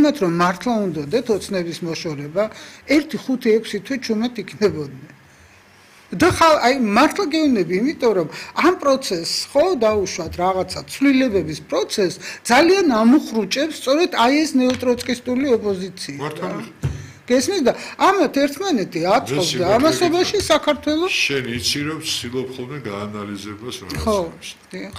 იმათ რომ მართლა უნდათ ოცნების მოშორება 1-5-6 თვე ჩუმად იქნებოდნენ. და აი მართლა გეუბნები, იმიტომ რომ ამ პროცესს ხო დაუშვათ რაღაცა ცვლილებების პროცესს ძალიან ამუხრუჭებს სწორედ აი ეს ნეოტროცკისტული ოპოზიცია. გესმის და ამათ ერთმანეთი აწყობს და ამასობაში საქართველოს შენ იცი რომ ვცდილობ ხოლმე გაანალიზებას რაღაცას.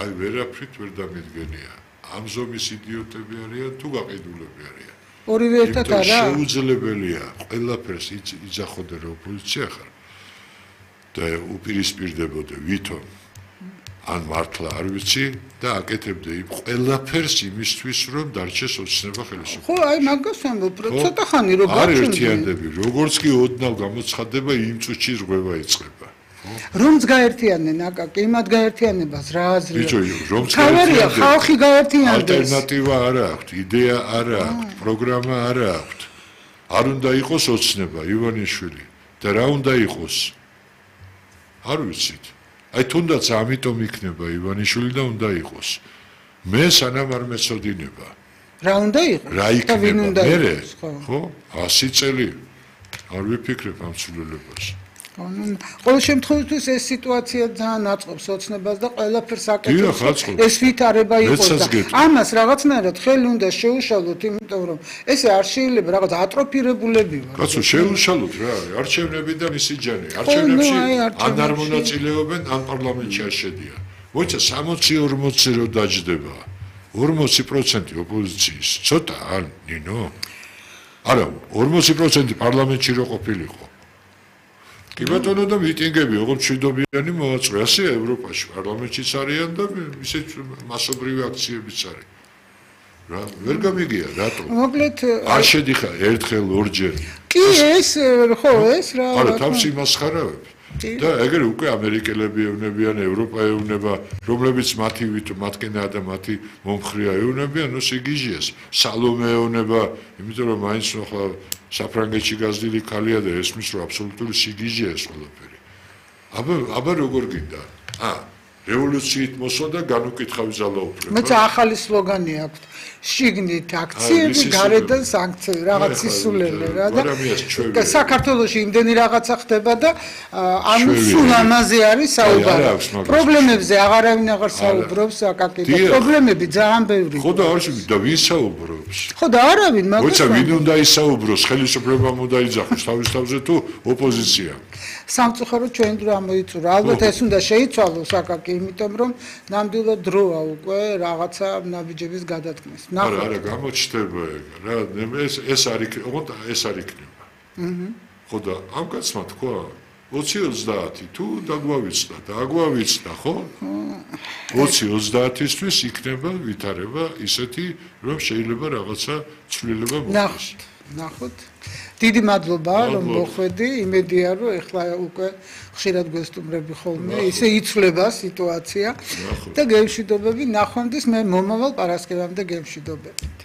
აი ვერაფრით ვერ დამიდგენია. ამ ზომის იდიოტები არიან თუ გაყიდულები არიან. ორივე ერთად არა. შეუძლებელია ყველაფერს იძახოდე რომ ოპოზიცია ხარ. და უპირისპირდებოდე ვითომ ან მართლა არ ვიცი და აკეთებდე იმ ყველაფერს იმისთვის რომ დარჩეს ოცნება ხელისუფლება. ხო, აი მაგას ამბობ, ცოტა ხანი რომ არ ერთიანდები, როგორც კი ოდნავ გამოცხადდება იმ წუთში ზღვევა იწყება. რომც გაერთიანენ აკაკი, იმათ გაერთიანებას რა აზრია? ბიჭო, რომც გაერთიანენ, ხალხი გაერთიანდეს. ალტერნატივა არ აქვს, იდეა არ აქვს, პროგრამა არ აქვს. არ უნდა იყოს ოცნება, ივანიშვილი და რა უნდა იყოს? არ ვიცით. აი თუნდაც ამიტომ იქნება ივანიშვილი და უნდა იყოს. მე სანამ არ მეცოდინება. რა უნდა იყოს? რა იქნება? მე ხო? 100 წელი არ ვიფიქრებ ამ ცვლილებას. ყოველ შემთხვევაში ეს სიტუაცია ძალიან აწყობს ოცნებას და ყველაფერს აკეთებს. ეს ვითარება იყოს და ამას რაღაცნაირად ხელი უნდა შეუშალოთ, იმიტომ რომ ესე არ შეიძლება რაღაც ატროფირებულები ვარ. კაცო, შეუშალოთ რა, არჩევნები და მისი ჯანი. არჩევნებში ან არ მონაწილეობენ, ან პარლამენტში არ შედიან. მოიცა 60-40 რო დაჯდება. 40% ოპოზიციის. ცოტა ან ნინო? არა, 40% პარლამენტში რო ყოფილიყო. კი ბატონო და მიტინგები, ოღონდ მშვიდობიანი მოაწყო, ასე ევროპაში პარლამენტშიც არიან და ისეთ მასობრივი აქციებიც არის. რა, ვერ გამიგია, რატო? მოკლედ არ შედიხარ ერთხელ, ორჯერ. კი ეს, ხო, ეს რა. არა, თავს იმასხარავებ. და ეგრე უკვე ამერიკელები ევნებიან, ევროპა ევნება, რომლებიც მათკენაა და მათი მომხრეა ევნებიან, ნუ სიგიჟიას. სალომე ევნება, იმიტომ რომ მაინც ახლა საფრანგეთში გაზრდილი ქალია და ესმის რომ აბსოლუტური სიგიჟეა ეს ყველაფერი. აბა როგორ გინდა? რევოლუციით მოსვა და განუკითხავი ძალაუფლება. მეც ახალი სლოგანი აქვს. შიგნით აქციები, გარედან სანქციები, რაღაც სისულელე რა და საქართველოში იმდენი რაღაცა ხდება და ანუ სულ ამაზე არის საუბარი. პრობლემებზე აღარავინ აღარ საუბრობს აკაკი და პრობლემები ძალიან ბევრია. ხო და არ და ვინ საუბრობს? ხო და არავინ მაგას. მოიცა ვინ უნდა ისაუბროს, ხელისუფლებამ უნდა იძახოს თავის თავზე თუ ოპოზიცია? სამწუხაროდ ჩვენ დრო ამოიწურა. ალბათ ეს უნდა შეიცვალოს აკაკი, იმიტომ რომ ნამდვილად დროა უკვე რაღაცა ნაბიჯების გადადგმის. არა, გამოჩნდება ეგ რა, ეს არ იქნება. ხო და ამ კაცმა თქვა 20-30 თუ დაგვავიცდა და აგვავიცდა, ხო? 20-30-ისთვის იქნება ვითარება ისეთი, რომ შეიძლება რაღაცა ცვლილება მოხდეს. ნახოთ. დიდი მადლობა რომ მოხვედი, იმედია რომ ეხლა უკვე ხშირად გვესტუმრები ხოლმე, ისე იცვლება სიტუაცია და გემშვიდობები ნახვამდის მე მომავალ პარასკევამდე გემშვიდობებით.